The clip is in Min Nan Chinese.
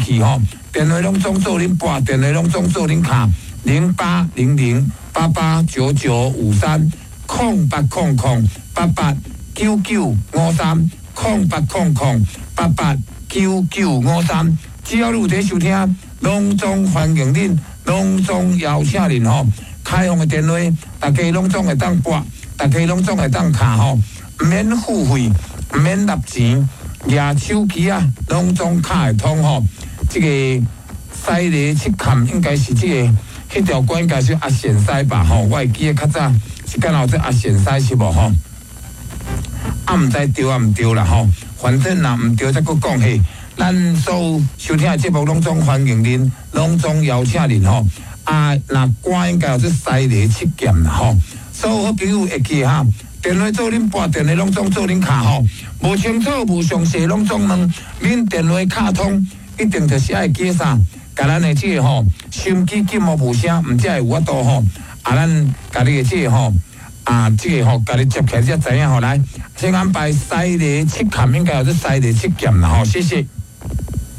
去吼，電話攏總做恁撥，電話攏總做恁敲，0800889953，0800889953，0800889953。只要你有佇收聽，攏總歡迎恁，攏總邀請恁吼。開放的電話，大家攏總會當撥，大家攏總會當敲吼，毋免付費，毋免納錢，舉手機啊，攏總敲會通吼。這個西螺七崁應該是這個，彼條歌應該是阿賢師吧吼，我會記得較早是敢若有這阿賢師是無吼？啊，毋知對啊毋對啦吼，反正若毋對，才閣講嘿。咱所有收聽的節目攏總歡迎恁，攏總邀請恁吼。啊，若歌應該叫做西螺七劍啦吼。所有好朋友會記哈，電話做恁撥，電話攏總做恁敲吼。無清楚、無詳細，攏總問，恁電話敲通，一定就是愛記啥？共咱的這個吼，收音機禁予無聲，毋才會有法度吼。啊，咱共你的這個吼，啊，這個吼，共你接起來才知影吼。來，先安排西螺七崁，應該叫做西螺七劍啦吼。謝謝。